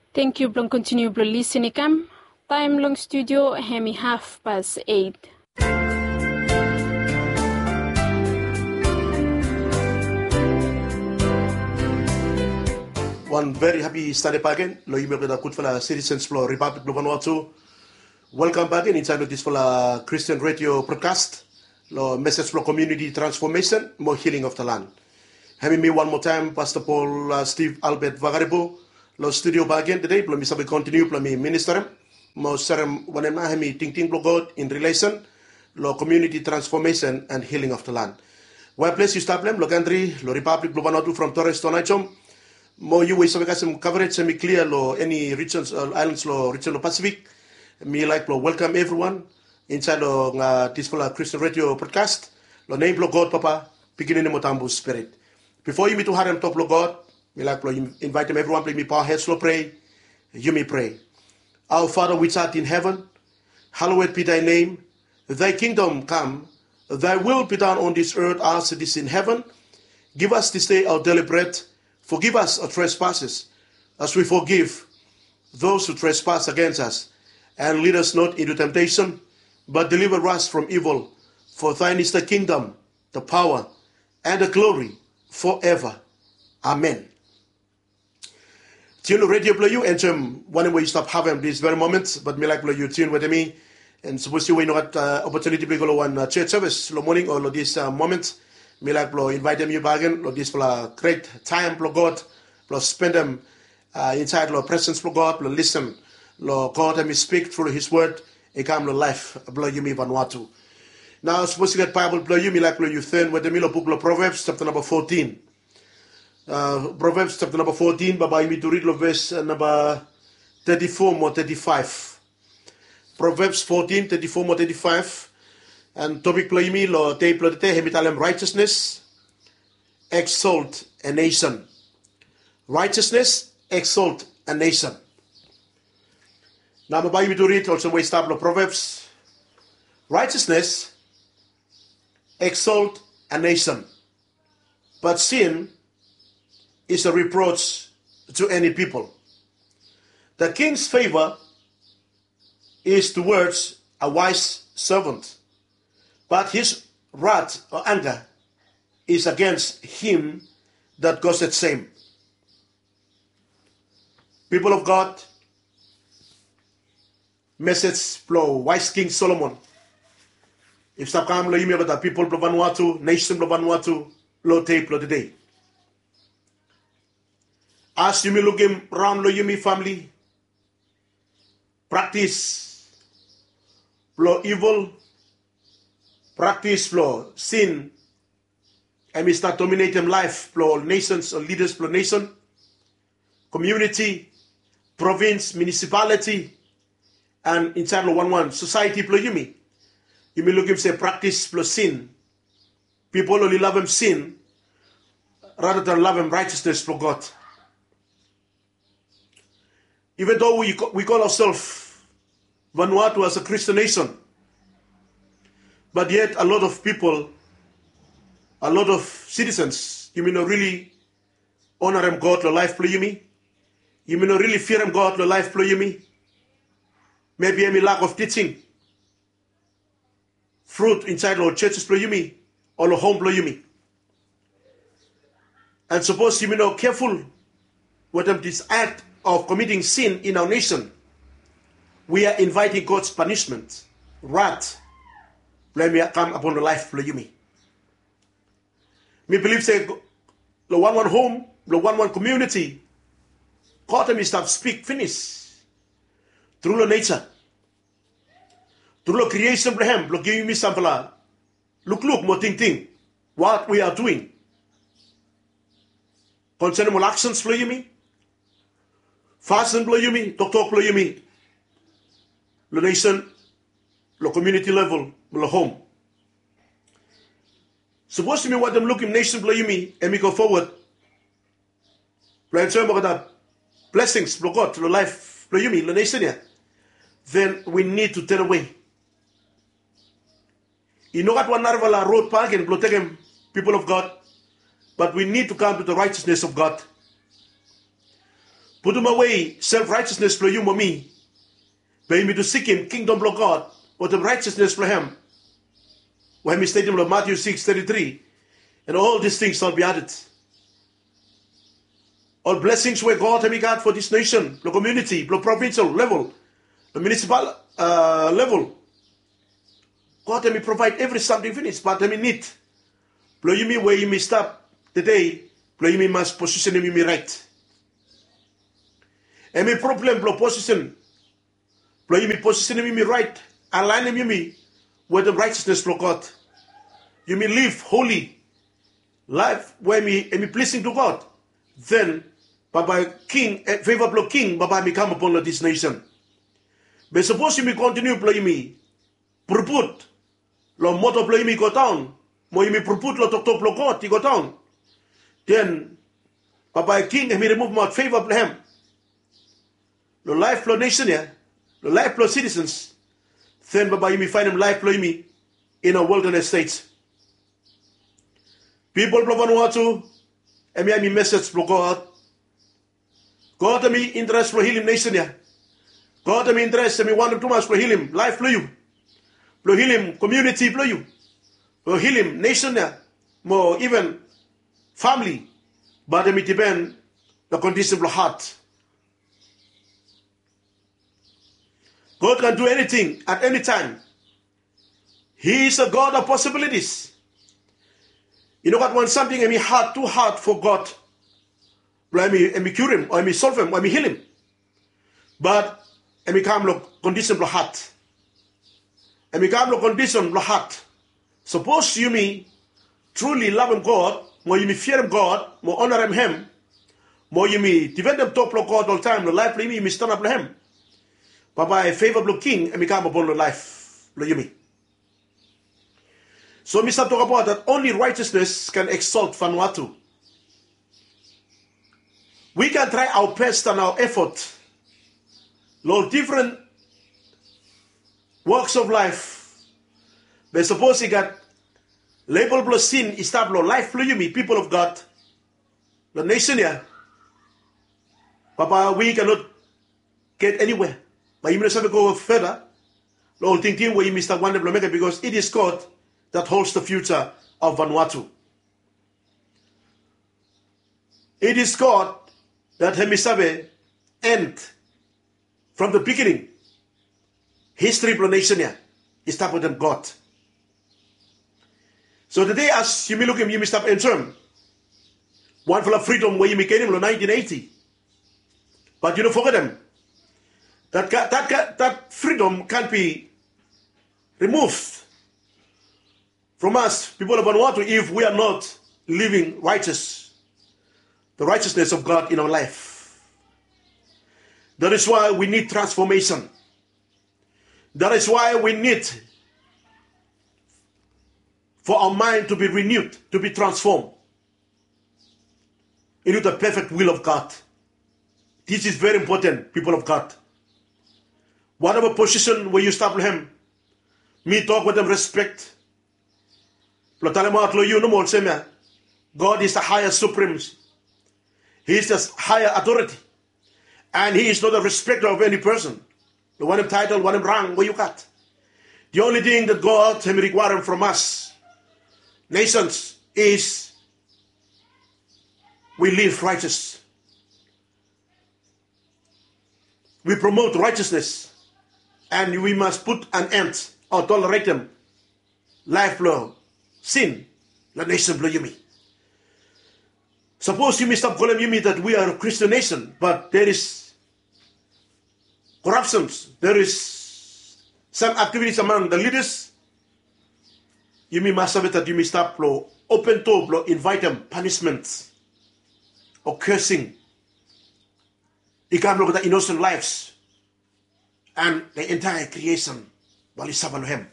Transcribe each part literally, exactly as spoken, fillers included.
Tangkiu blong kontiniu blong lisin i kam. Taem long studio hem i haf pas eit. Wan veri hapi Sande bakegen long yumi olgeta gudfala sitisens blong Ripablik blong Vanuatu. Welkam bakegen insaed long disfala Kristen redio brodkas long mesej blong komuniti transfomesen mo hiling of the land. Hem i mi wan moa taem Pasta Pol Stiv Albet Vakaribo long studio bakegen tede blong mi save kontiniu blong mi ministerem mo serem wanem nao hem i tingting blong God in rilesen long komuniti transfomesen and hiling of the land. Wae ples yu stap long hem long kantri long Ripablik blong Vanuatu from Torres to Naitom, mo yu we yu save kasem kavarej hem i klia long eni rijens o aelans long rijen blong Pasifik, mi laek blong welkam evriwan insaed long disfala Kristen redio brodkas long nem blong God Papa, Pikinini mo Tambu Spirit. Bifo yumi tu harem tok blong God, mi laek blong invaetem evriwan blong yumi paohed long prea. Yumi prea. Our Father which art in heaven, hallowed be thy name. Thy kingdom come, thy will be done on this earth as it is in heaven. Give us this day our daily bread. Forgive us our trespasses, as we forgive those who trespass against us. And lead us not into temptation, but deliver us from evil. For thine is the kingdom, the power, and the glory forever. Amen. Tiun long redio blong yu, enjoem wanem we yu stap havem this very moment, bat mi laek blong yu tiun wetem mi. And sapos yu we yu no gat opotuniti blong yu go long wan jos sevis long moning o long this moment, mi laek blong invaetem yu bakegen long disfala gret taem blong God blong spendem insaed long presens blong God blong lisen long God hem i spik tru long his wod i kam long laef blong yumi Vanuatu. Nao sapos yu gat Baebol blong yu, mi laek blong yu ten wetem mi long buk blong Provebs japta namba fotin. Provebs japta namba fotin, bambae yumi tu rid long ves namba teti fo mo teti faef. Provebs fotin teti fo mo teti faef. And topik blong yumi long dei blong tede hem i talem righteousness exalt a nation. Righteousness exalt a nation. Nao bambae yumi tu rid olsem we i stap long Provebs. Righteousness exalt a nation, but sin is a reproach to any people. The king's favor is towards a wise servant, but his wrath or anger is against him that causeth shame. People of God, mesej blong waes King Solomon i stap kam long yumi olgeta pipol blong Vanuatu, nesen blong Vanuatu, long dei blong tede. As yumi lukim raon long yumi famle, praktis blong ivil, praktis blong sin, hem i stat dominetem laef blong ol nesens o lidas blong nesen, komuniti, provins, munisipaliti, and insaed long wanwan sosaeti blong yumi. Yumi lukim se praktis blong sin, pipol oli lavem sin rata dan lavem righteousness blong God. Even though we, we call ourselves Vanuatu as a Christian nation, but yet a lot of people, a lot of citizens, yumi no really honorem God long laef blong yumi. Yumi no really fearem God long laef blong yumi. Maybe hem i lack of teaching fruit insaed long ol churches blong yumi o long hom blong yumi. And sapos yumi no careful wetem this act of committing sin in our nation, we are inviting God's punishment, wrath, blong hem i kam upon long laef blong yumi. Mi bilif se long wanwan hom, long wanwan komuniti, God hem i stap spik finis tru long neja, tru long kriesen blong hem, blong givim yumi samfala lukluk mo tingting what we are doing konsenem ol aksens blong yumi, fasin blong yumi, toktok blong yumi long nesen, long komuniti level, long hom. Sapos yumi wantem lukim nesen blong yumi hem i go fowod blong enjoem olgeta blesings blong God long laef blong yumi long nesen ya, then we need to turn away. I no gat wan narafala rod bakegen blong tekem, people of God, but we need to come to the righteousness of God. putum awe self righteousness blong yu mo mi, be yumi tu sikim kingdom blong God wetem righteousness blong hem, we hemi stetim long Matthew six thirty-three, and all these things shall be added. Ol blessings we God hemi gat for this nation, blong community, blong provincial level, blong municipal uh, level, God hemi provide every something finish, but hemi need blong yumi we yumi stap today, blong yumi mas positionem yumi right. Hemi problem blong position blong yumi positionem yumi right, alignem yumi wetem righteousness blong God. Yumi live holy life we hemi pleasing to God. Then bambae king, eh, favor blong king bambae hemi kam upon long this nation. Be sapos yumi continue blong yumi puruput long moto blong yumi i go daon, mo yumi puruput long toktok blong God i go daon, then bambae king hemi rimuvumaot favor blong hem long laef blong nesen ya, long laef blong citizens. Then bambae yumi faenem laef blong yumi in a wilderness state. Pipol blong Vanuatu, hemia hemi mesej blong God. God hemi interes blong hilim nesen ya. God hemi interes, hemi wantem tumas blong hilim laef blong yu, blong hilim komuniti blong yu, blong hilim nesen ya, mo even famili. Bat hemi dipen long kondisen blong hat. God can do anything at any time. He is a God of possibilities. I no gat wan samting hemi had, too hard for God blong hemi kiurim o hemi solvem o hemi hilim. Bat hemi kam long kondisen blong hat. Hemi kam long kondisen blong hat. Sapos yumi truly lavem God, mo yumi fiarim God, mo onarem hem, mo yumi difendem tok blong God oltaem long laef blong yumi, yumi stanap long hem, bambae favor blong king hemi kam upon long laef blong yumi. So mi stap tokbaot that only righteousness can exalt Vanuatu. We can try our best and our effort long ol different walks of life. Be sapos i gat label blong sin i stap long laef blong yumi, people of God, long nesen ya, bambae we cannot get anywhere. Bae yumi no save go further long ol tingting we yumi stap wantem blong mekem, because it is God that holds the future of Vanuatu. It is God that hemi save end from the beginning. History blong nesen ya i stap wetem God. So today as yumi lukim, yumi stap enjoem wanfala freedom we yumi genim long nineteen eighty. But yu no fogetem that, that, that freedom can't be removed from us, people of Vanuatu, if we are not living righteous, the righteousness of God in our life. That is why we need transformation. That is why we need for our mind to be renewed, to be transformed into the perfect will of God. This is very important, people of God. Whatever position we yu stap long hem, mi tok wetem respek blong talemaot long yu nomo olsem ya, God is the highest supreme. He is the higher authority. And he is not a respecter of any person. Long wanem title, wanem rang we yu gat. The only thing that God hemi requirem from us nations is we live righteous. We promote righteousness, and we must put an end o toleretem laef blong sin long nesen blong yumi. Sapos yumi stap kolem yumi that we are a Christian nation, but there is corruptions, there is some activities among the leaders, yumi mas save that yumi stap long open doa blong invaetem punishment o cursing i kam long the innocent lives and the entire creation bae oli safa long hem.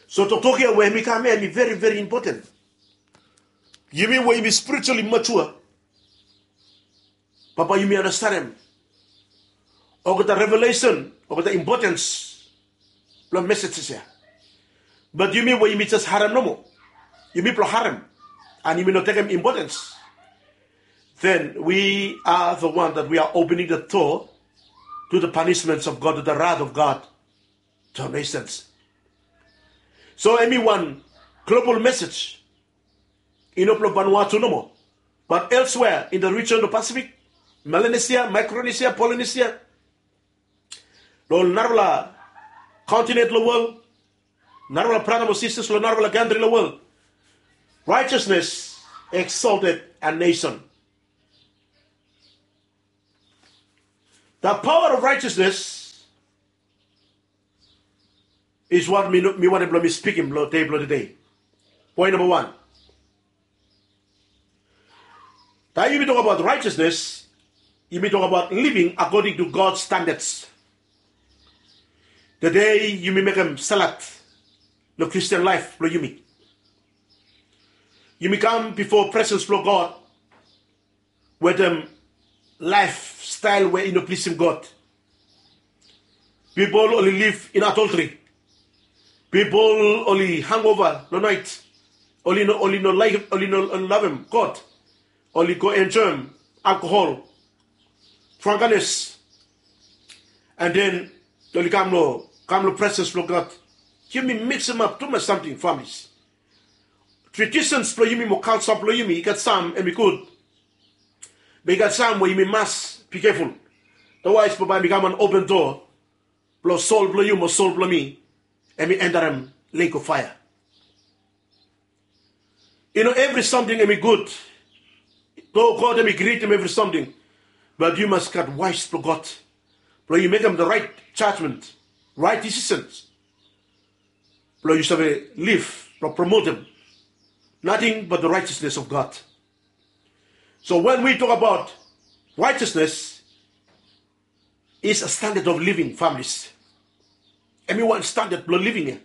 So toktok ia we hemi kam ia hemi very, very important. Yumi we yumi spiritually mature, bambae yumi anastenem olgeta revelation, olgeta importance blong messages ia. Bat yumi we yumi jes harem nomo, yumi blong harem, and yumi no tekem importance. then we are the one that we are opening the door to the punishments of God, to the wrath of God, to our nations. So hemi wan global message, i no blong Vanuatu nomo, but elsewhere in the region of Pacific, Melanesia, Micronesia, Polynesia, long narafala continent long world, narafala brata mo sisters long narafala country long world. Righteousness exalted a nation. The power of righteousness is what mi, mi wantem blong mi spikim long dei blong tede. Point number one. Taem yumi tokbaot righteousness, yumi tokbaot living according to God standards. Tede yumi mekem salad long Christian life blong yumi. Yumi kam bifo presence blong God wetem lifestyle we i no pleasem God. Pipol oli live in adultery. Pipol oli hangover long naet. Oli no, oli no laekem, oli no lavem God. Oli go enjoem alcohol, drunkenness, and then oli kam long, kam long presence blong God. Yumi miksimap tumas samting, families. Traditions blong yumi mo culture blong yumi, i gat sam hemi gud, be i gat sam we yumi mas be careful. Otherwise bambae hemi kam wan open door blong soul blong yu mo soul blong mi hemi entarem lake of fire. I no evri samting hemi gud. Though God hemi krietem evri samting, but yu mas gat wise blong God blong yu mekem the right judgment, right decisions, blong yu save live blong promotem nothing but the righteousness of God. So when we talk about righteousness, is a standard of living, families. Hemi wan standard blong living ya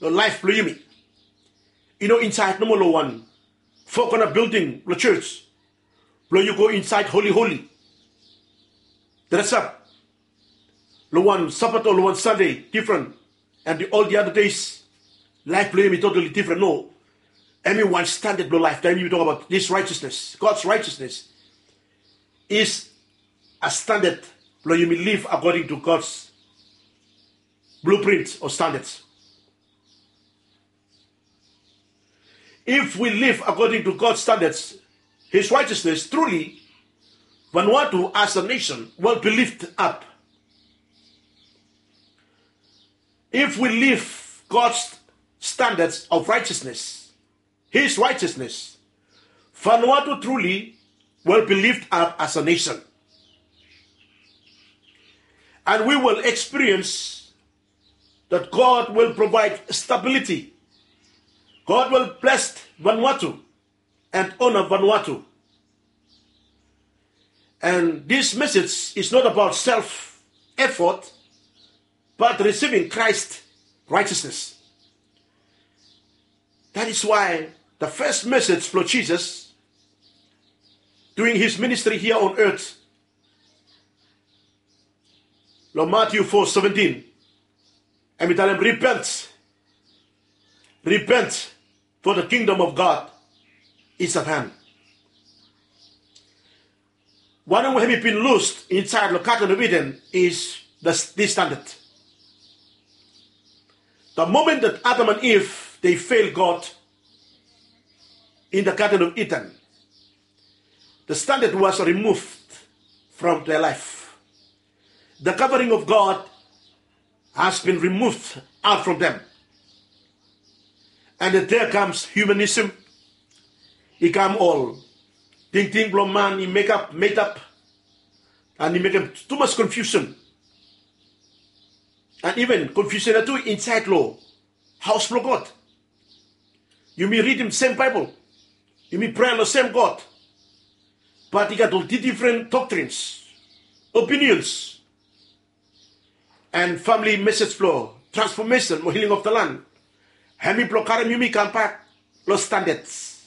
long life blong yumi. I no insaed nomo long wan four corner building blong church blong yu go insaed holy holy, dress up long wan Sabbath o long wan Sunday different, and the, all the other days life blong yumi totally different. No, hemi wan standard blong life. Taem yumi tokbaot this righteousness, God's righteousness is a standard blong yumi live according to God's blueprint o standards. If we live according to God's standards, His righteousness, truly Vanuatu as a nation will be lifted up. If we live God's standards of righteousness, His righteousness, Vanuatu truly will be lifted up as a nation. And we will experience that God will provide stability. God will bless Vanuatu and honor Vanuatu. And this message is not about self effort, but receiving Christ's righteousness. That is why the first message blong Jesus during his ministry here on earth, long Matthew four seventeen, hemi talem, "Repent, repent, for the kingdom of God is at hand." Wanem we hemi bin lus insaed long Garden of Eden is the, this standard. The moment that Adam and Eve they fail God in the Garden of Eden, the standard was removed from their life. The covering of God has been removed out from them. And there comes humanism. I kam ol tingting blong man i mekap, made up, and i mekem tumas confusion. And even confusion ya tu insaed long haos blong God. Yumi ridim sem Baebol, yumi prea long sem God, but i gat ol difren doctrines, opinions, and family message blong transformation mo healing of the land. Hemi blong karem yumi kambak long standards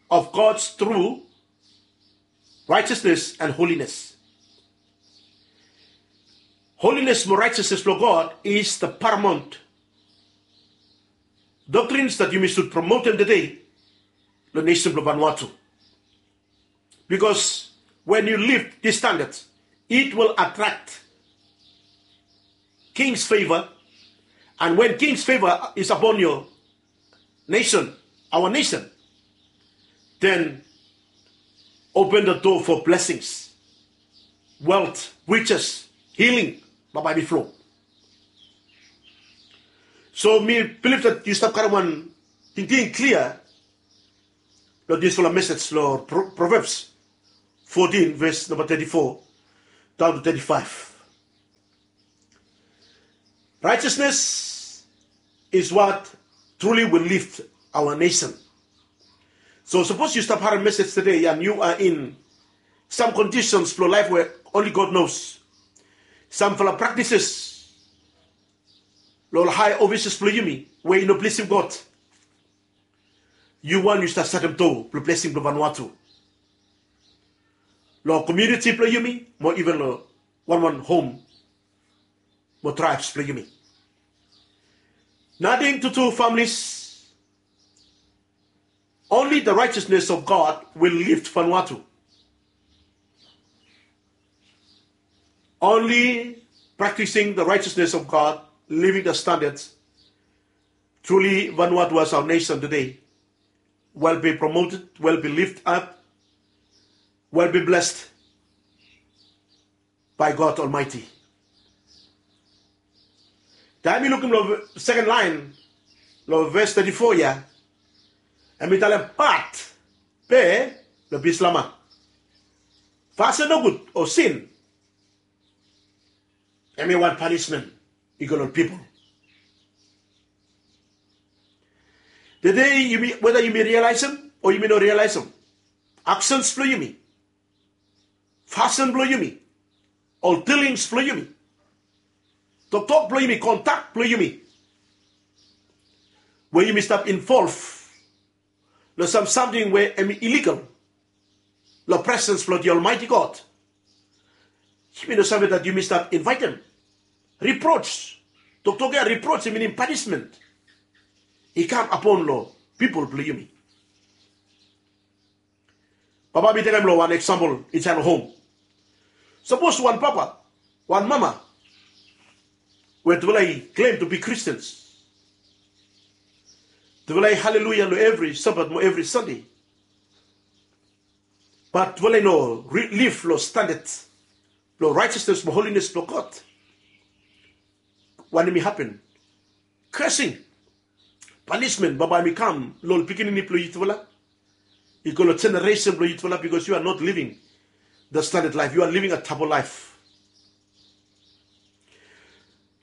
of God's true righteousness and holiness. Holiness mo righteousness blong God is the paramount doctrines that yumi should promotem tede long nesen blong Vanuatu. Because when you lift this standard, it will attract king's favor. And when king's favor is upon your nation, our nation, then open the door for blessings, wealth, riches, healing. Bambae mi flo. So mi bilif that yu stap karem wan tingting klia long disfala message long Proverbs fourteen, verse number thirty-four down to thirty-five. Righteousness is what truly will lift our nation. So sapos yu stap harem message today and you are in some conditions blong life where only God knows, samfala practices long high offices blong yumi we i no plesim God, yu wan yu stap satem do blong blessing blong Vanuatu, long community blong yumi, mo even long wan wan home mo tribes blong yumi. Nating to two families. Only the righteousness of God will lift Vanuatu. Only practicing the righteousness of God, living the standards, truly Vanuatu as our nation today will be promoted, will be lifted up, will be blessed by God Almighty. Taem yu lukim long second line long verse thirty-four ya, em i talem pat be long Bislama. Fasin nogud o sin, em i wan panismen i go long pipol. Tede yumi, weda yumi realisem o yumi no realisem, aksens blong yumi, fasin blong yumi, ol dilings blong yumi, toktok blong yumi, kontak blong yumi, we yumi stap involv long sam samting we em i illegal long presens blong the Almighty God. Yumi no save that yumi stap invaetem reproach. Toktok ya reproach i minim panismen i kam apon long pipol blong yumi. Bambae mi tekem long wan eksampol insaed long hom. Sapos wan papa, wan mama we tufala i klem to bi Kristen, tufala i haleluia long evri Sabat mo evri Sande, bat tufala i no liv long standad blong raetesnes mo holines blong God, wanem i hapen? Kasing, panismen bambae i kam long ol pikinini blong yutufala, i go long jeneresen blong yutufala, bikos yu are not living the standard life, yu are living a double life.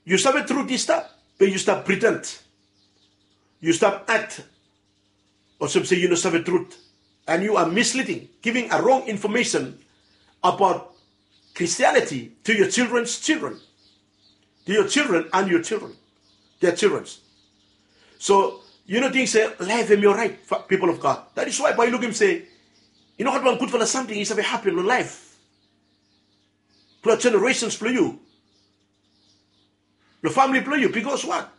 Yu save trut i stap, be yu stap priten. Yu stap act olsem se yu no save trut, and you are misleading, giving a wrong information about Christianity to your children's children, to your children and your children, their children's. So yu no ting se laef hem i oraet, people of God? That is why bae yu lukim se i no gat wan gudfala samting i save hapen long laef blong jeneresens blong yu, long famili blong yu. Bikos wat?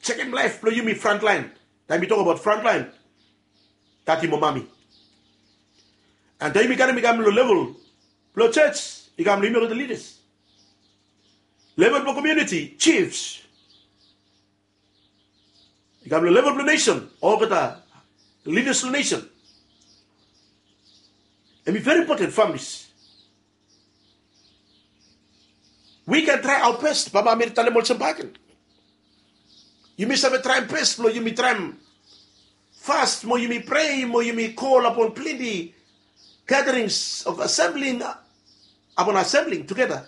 Sekem laef blong yumi frontlaen. Taem mi tok abaot frontlaen, dadi mo mami. And taem yumi karem i kam long level blong jos, i kam long yumi olgeta lidas, level blong komuniti, jifs, i kam long level blong nesen, olgeta lidas long nesen. Hem i veri impoten, familis. We can try our best, bambae mi talem olsem bakegen. Yumi save traem bes blong yumi traem fas mo yumi prea mo yumi kol apon plante gatherings of assembling, upon assembling together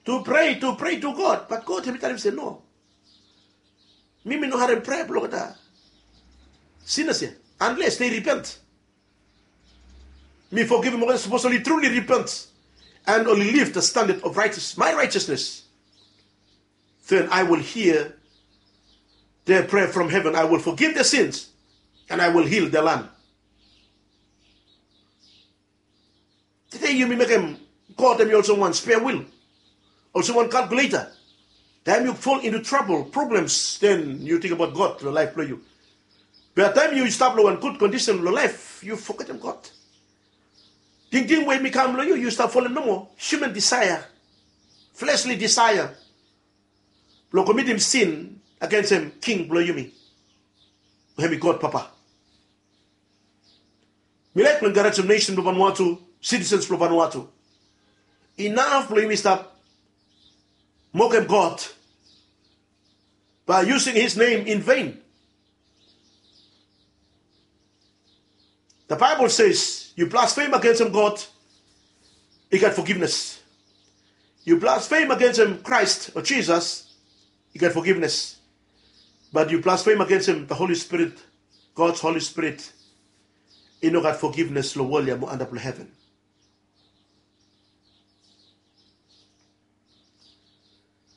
to pray, to pray to God. But God hem i talem se no, mi mi no harem prea blong olgeta sinners ya, unless they repent. Mi fogivim olgeta sapos oli truly repent and oli live the standard of righteous, my righteousness. Then I will hear their prayer from heaven. I will forgive their sins and I will heal their land. Tede yumi mekem God hem i olsem wan spare wheel, olsem wan calculator. Taem yu fall into trouble, problems, then yu ting abaot God long laef blong yu. Be taem yu stap long wan gud kondisen long laef, yu fogetem God. Tingting we i kam long yu, yu stap folem nomo human desire, fleshly desire, blong komitim sin agensem King blong yumi, we hemi God Papa. Mi laik blong enkarejem nesen blong Vanuatu, sitisens blong Vanuatu. Inaf blong yumi stap mokem God by using his name in vain. The Bible says, yu blasfem agensem God, i gat fogivnes. Yu blasfem agensem Kraes o Jisas, i gat fogivnes. But yu blasfem agensem the Holy Spirit, God's Holy Spirit, i no gat fogivnes long wol ya mo antap long heven.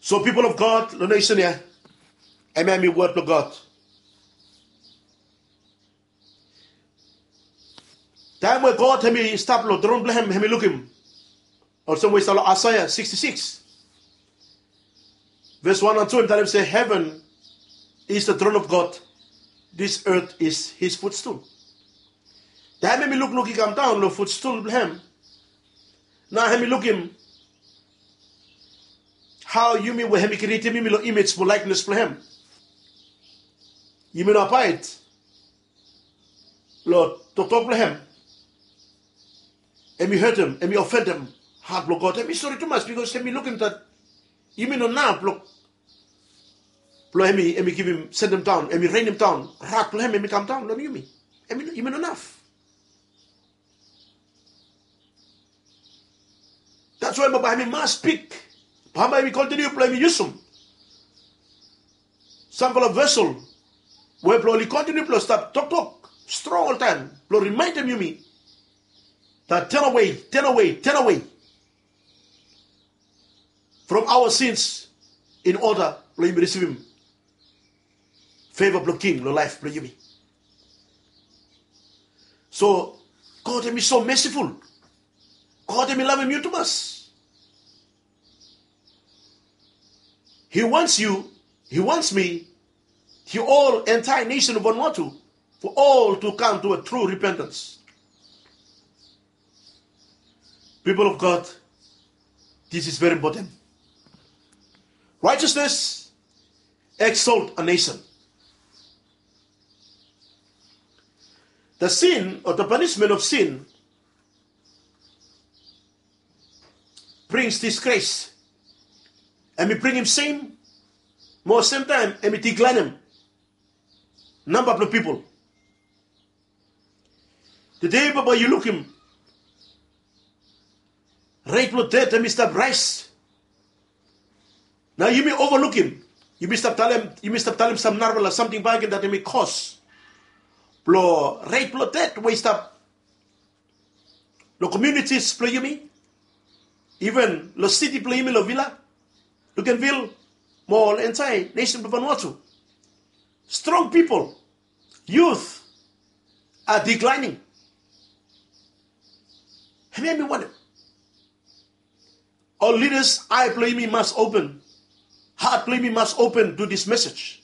So people of God, long nesen ya, hemia hemi wod blong God. Taem we God hemi stap long tron blong hem, hemi lukim. Olsem we i stap long Aesea siksti sikis, ves wan and tu, hemi talem se, "Heaven is the throne of God, this earth is his footstool." Taem hemi lukluk i kam daon long footstool blong hem, nao hemi lukim hao yumi we hemi krietem yumi long imej mo laeknes blong hem, yumi no abaed long toktok blong hem. Hemi hetem, hemi ofendem hat blong God. Hemi sore tumas bikos hemi lukim dat yumi no naf blong, blong hemi, hemi givim, sendem daon, hemi renem daon rat blong hem, hemi kam daon long yumi. Hemi, yumi no naf. That's why bambae hemi mas big. Bambae hemi kontiniu blong hemi yusum samfala vesel we blong oli kontiniu blong stap toktok strong oltaem blong rimaendem yumi that turn away, turn away, turn away from our sins in order blong yumi risivim favor blong King long laef blong yumi. So God hemi so mesiful. God hemi lavem yu tumas. He wants you, he wants me, the whole entire nation of Vanuatu, for all to come to a true repentance. People of God, this is very important. Righteousness exalt a nation. The sin or the punishment of sin brings disgrace. Hemi bringim sem, mo semtaem hemi diklaenem namba blong pipol. Tede bambae yu lukim ret blong ded hemi stap raes. Nao yumi ovalukim, yumi stap talem, yumi stap talem sam narafala samting bakegen dat hemi kos blong ret blong ded we i stap long komunitis blong yumi, iven long siti blong yumi, long Vila, Luganville, mo ol entire nesen blong Vanuatu. Strong pipol, youth are declining. Hemia mi wanem? Ol lidas, ae blong yumi mas open, hat blong yumi mas open to this message.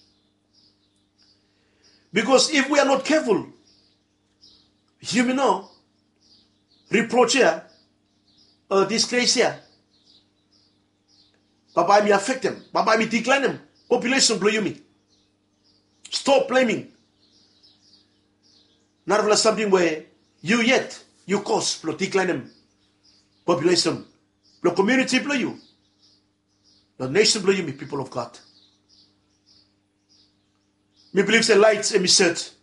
Because if we are not careful, yumi no, reproach ya o disgrace ya, bambae mi afektem, bambae mi diklaenem populesen blong yumi. Stop blaming narafala samting we yu yet yu kos blong diklaenem populesen blong komuniti blong yu, long nesen blong yumi, people of God. Mi bilif se laet hemi set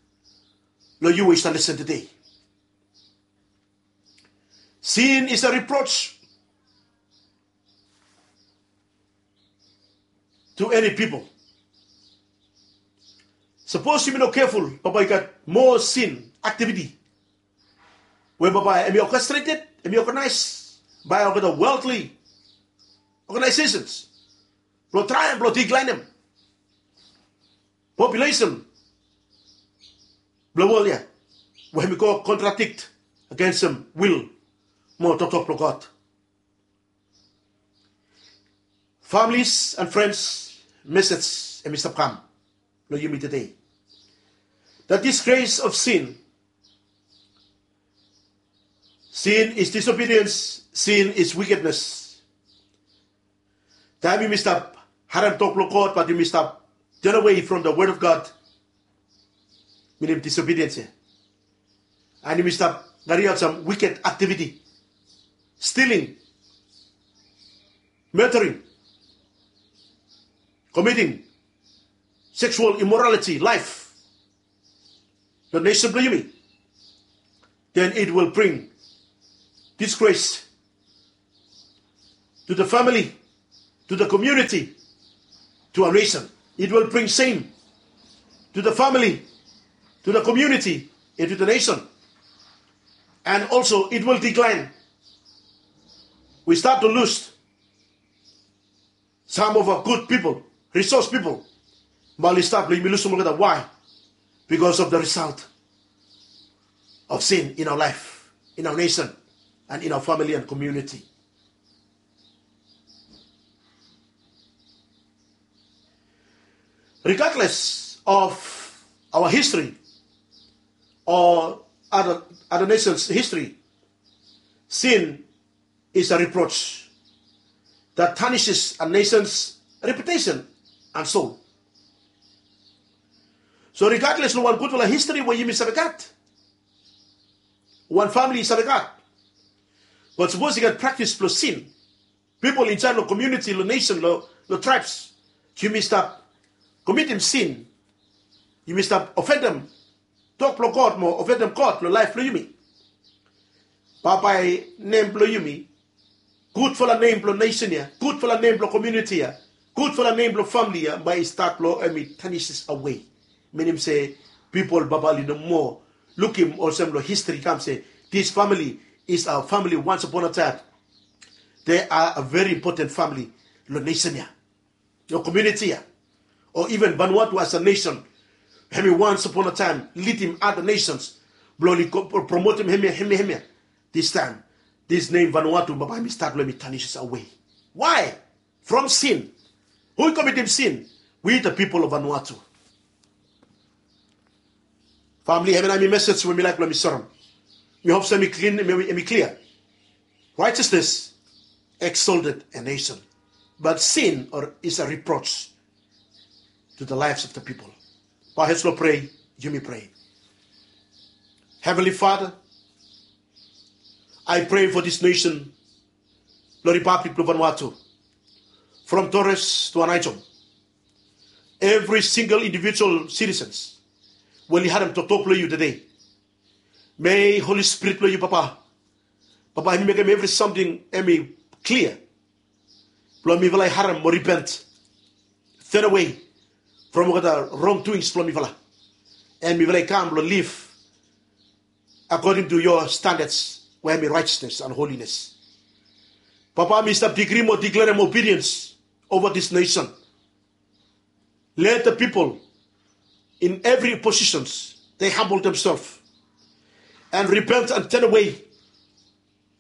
long yu we yu stap lesen tede. Sin is a reproach to any people. Sapos yumi no keful, bambae i gat moa sin aktiviti we bambae hemi orkestrated, hemi oganaes bae olgeta worldly organizations blong traem blong diklaenem populesen blong wol ya, we hemi go kontradikt agensem wil mo toktok blong God. Families and friends, mesej hemi stap kam long yumi tede. The disgrace of sin Sin is disobedience, sin is wickedness. Taem yumi stap harem tok blong God, bat yumi stap turn away from the word of God, minim disobedience ya. And yumi stap kariaot sam wicked activity, stealing, murdering, committing sexual immorality life long nesen blong yumi, then it will bring disgrace to the family, to the community, to our nation. It will bring shame to the family, to the community, and to the nation. And also, it will decline. We start to lose some of our good people, resource people. Bae oli stap long yumi lusum olgeta. Why? Because of the result of sin in our life, in our nation, and in our family and community. Regardless of our history or other, other nations' history, sin is a reproach that tarnishes a nation's reputation and soul. So regardless long wan gudfala history we yumi save gat, wan famili i save gat, bat sapos i gat praktis blong sin, pipol insaed long komuniti, long nesen, long, long traebs, yumi stap komitim sin. Yumi stap ofendem tok blong God mo ofendem God long laef blong yumi. Bambae nem blong yumi, gudfala nem blong nesen ya, gudfala nem blong komuniti ya, gudfala nem blong famili ya bae i stat long hem i tanises awe. Minim se pipol bae oli no moa lukim olsem long histri i kam se, this family is a family once upon a time. They are a very important family long nesen ya, long komuniti ya, o even Vanuatu as a nation. Hemi once upon a time lidim other nations blong oli promotem hemia, hemia, hemia. This time, this nem Vanuatu bambae hemi stat long hem i tanises awe. Why? From sin. Hu i komitim sin? We the people of Vanuatu. Famili, hemia nao hemi mesej we mi laek blong mi serem. Mi hop se hemi klin, hemi, hemi klia. Righteousness exalted a nation, but sin or is a reproach to the lives of the people. Bow heads long prea, yumi prea. Heavenly Father, I pray for this nation, long Republic blong Vanuatu, from Torres to Anaheim. Evri singel individual citizens we oli harem toktok blong yu tede, may Holy Spirit blong yu, Papa, Papa, hemi mekem evri samting hemi klia blong mifala i harem mo ripent, turn away from olgeta wrongdoings blong mifala, and mifala i kam blong liv according to your standards, we hemi righteousness and holiness. Papa, mi stap decree mo declare obedience over this nation. Let the people in every positions, they humble themselves and repent and turn away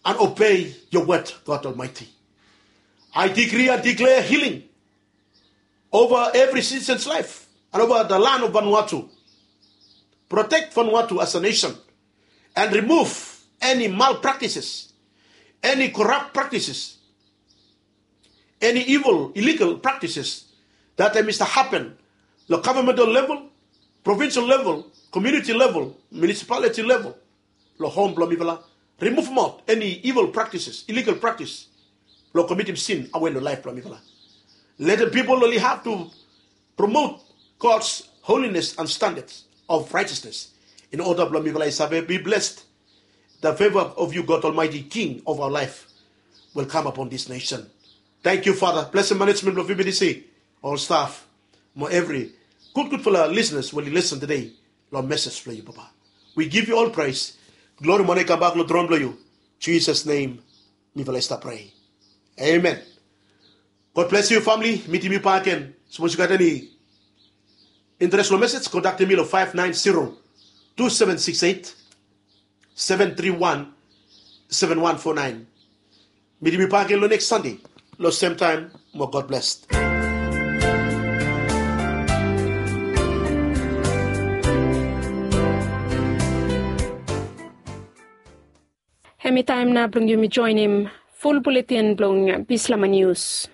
and obey your word, God Almighty. I decree and declare healing over every citizen's life and over the land of Vanuatu. Protect Vanuatu as a nation and remove any malpractices, any corrupt practices, any evil, illegal practices that hemi stap hapen long governmental level, provincial level, community level, municipality level, long hom blong mifala. Remove maot any evil practices, illegal practice blong komitim sin awe long laef blong mifala. Let the people only have to promote God's holiness and standards of righteousness in order blong mifala i save be blessed. The favor of you, God Almighty, King of our life, will come upon this nation. Thank you, Father. Blessing management blong V B T C, all staff, mo evri gudgudfala listeners we oli listen tede long message blong yu, Papa. We give you all praise. Glory mo honor i kambak long tron blong yu. Jesus name mifala i stap prea. Amen. God bless you, family. Mitim yu bakegen. Sapos yu gat eni interes long message, kontaktem mi long five nine zero, two seven six eight, seven three one, seven one four nine. Mitim yu bakegen long next Sunday long same time. Mo God bless. Mi taem nao blong yumi joenem ful buletin blong bislama nius.